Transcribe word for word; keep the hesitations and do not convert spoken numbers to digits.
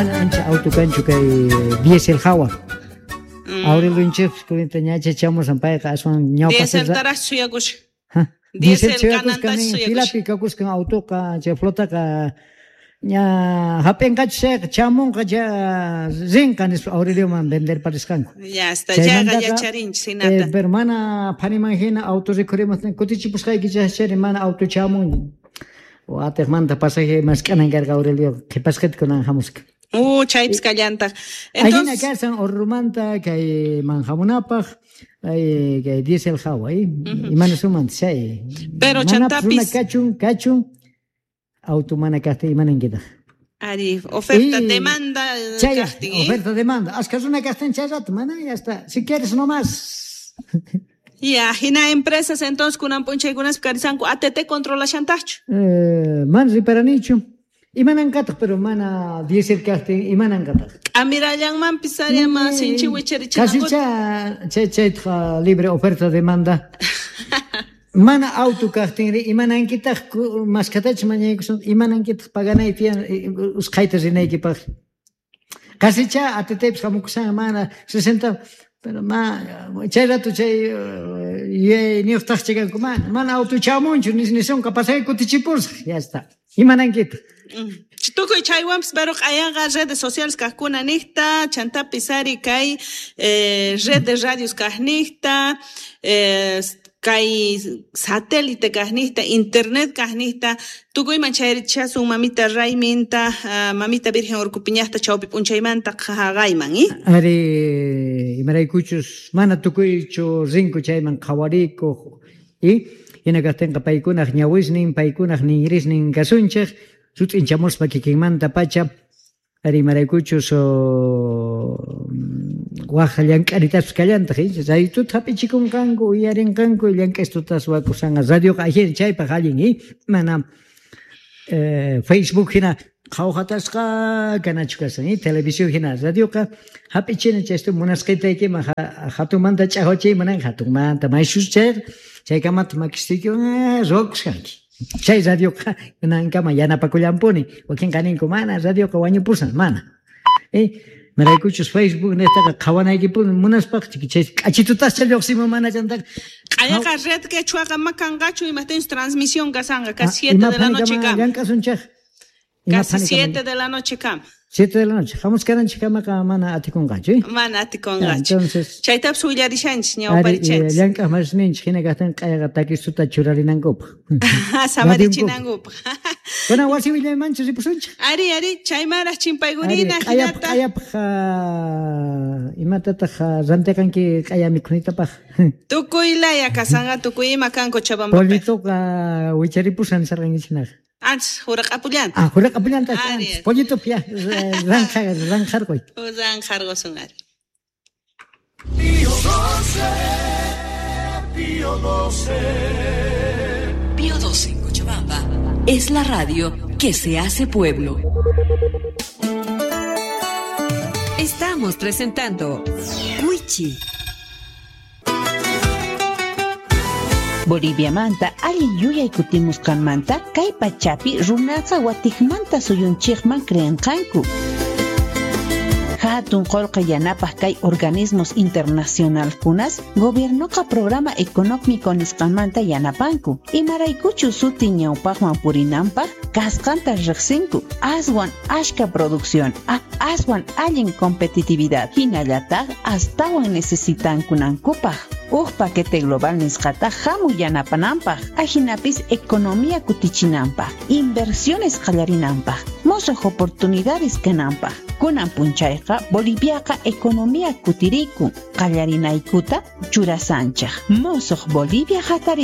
Ancha auto kanchu kay diesel hawa. Mm. Aurelio kurinta ñacha chamusan payqa aswan ñawpaq Dieseltaraq suyakushan. Ha, Diesel diesel kananta suyakuskan suyakushan. Filapi kakuskan autoqa chay flotaqa ña hap'inqachu chayqa chamunqa cha rinqa nispa Aurelioman vender parisqanku. Ya está, chayqa Chaymantaqa, yacharinchis hinata. Eh, pero mana phaniman hina auto rikhurimuqtin kutichipusqayki chaychari mana auto chamun. Watiqmanta pasaje mask'anan karqa Aurelio qhipasqita kunan hamusqa. Uh, chaypis kallantaq. Ahina Entonces, kasan Orrumanta kay manhamunapaq ay kay diesel hawa ay imana sumanta chay. Pero Manapis chantapis- runa kachun kachun auto mana kaqtin imanankitaq. Ari, oferta, Y- demanda eh, Chay, kaqtin, ¿eh? oferta demanda. Aska runa kaqtin chay rato mana ya está. Si quieres nomás. Ya, hina empresas entonces kunan p'unchaykunaspi karisanku A T T controlashantaqchu. Eh, mana riparanichu. Imanankataq pero mana diesel kaqtin imanankataq. K'amirallanmanpis ari ama sinchi wicharichinankuta. Kasicha chay chaytaqa libre oferta demanda. Mana auto kaqtinri imanankitaq ku- maskatachu mañaykusun imanankitaq paganay tiyan eh, usqhayta rinaykipaq. Kasicha A T Tpis hamukusan mana sesenta pero ma chay rato chay eh, yuyayniyuqtaqcha kanku mana mana auto chamunchu nis nisunqa pasaje kutichipusaq ya está. Imanankitaq. Mm. Tukuy chaywanpis pero q'ayanqa redes sociales kaqkuna niqta chantapis ari kay eh, red de radios kaqniqta eh, kay satélite kaqniqta internet kaqniqta tukuyman chayrichasun mamita rayminta ah, mamita Virgen Urkupiñaqta chawpi p'unchaymanta qhaqayman, eh? Ari imaraykuchus mana tukuychu rinku chayman qhawarikuq y hina kaqtinqa paykunaq ñawisnin paykunaq ninrisnin kasunchik sut'inchamuspa kikinmanta pacha ari imaraykuchus waj llank'aritaspis kallantaq raytuta hap'ichikunqanku uyarinqanku llank'aystutas wakusanqa radioqa ajina chaypaq allin y mana eh, Facebook hina qhawhatasqa kanachu kasan y televisión hina radioqa hap'ichina chaystu munasqaytaykiman hatunmanta ch'aqwachiyman hatunmanta mayshus chayqa chaykamata makistiykiwan ruwakusqanki chay radioqa kunankama yanapakullanpuni. Wakinqa ninku mana radioqa wañupusan mana eh imaraykuchus Facebook niqtaqa qhawanaykipuni munaspaqa chay k'achitutascha lluqsimun mana chantaqa. Q'ayaqa red quechuaqa ma kanqachu imaqtinchus transmisión kasanqa casi siete de la noche kama. Llank'asunchik. Casi siete de la noche kama. Siete de la noche. Hamuskananchik kamaqa mana atikunqachu, eh? Mana atikunqachu. Entonces, chaytapis willarishanchis ari ñawparichanchis. Llank'aq masninchik hina kaqtin q'ayaqa takistuta churarinankupaq. Samarichinankupak. Kuna wasi willaymanchu ripusunchik. Ari, ari, chaymaraq chimpaykurina Ari, q'ayapaq hinata. Q'ayapaq imatataq rantiqanki q'aya mikhunitapaq? Tukuy laya kasanqa tukuy ima kan Cochabambapi. Pollituqa wicharipushan sarqankichinaqa. Antes huraq'apullanta. Ah, huraq'apullanta Ari. antes. Pollitup ya ranqa ranqarquy. Ranqarqusun ari. Pío doce, Pío doce. Pío doce en Cochabamba es la radio que se hace pueblo. Estamos presentando Wichi. Boliviamanta allin yuyay kutimusqanmanta kay pachapi runaqa watiqmanta suyunchikman creenqanku. Hatun qullqi yanapaq kay organismos internacionalkunas gobiernoqa programa económico nisqanmanta yanapanku. Imaraykuchu suti ñawpaqman purinanpaq kasqanta riqsinku. Aswan ashka producción, a aswan allin competitividad hinallataq astawan necesitankunankupaq. Uj paquete global nisqata hamuy yanapananpaq, ajinapis economía kutichinanpaq, inversiones qallarinanpaq, musuq oportunidades kananpaq. Kunan punchayqa Boliviaqa economía kutirikun, qallarinaykuta churasanchik. Musuq Bolivia hatari.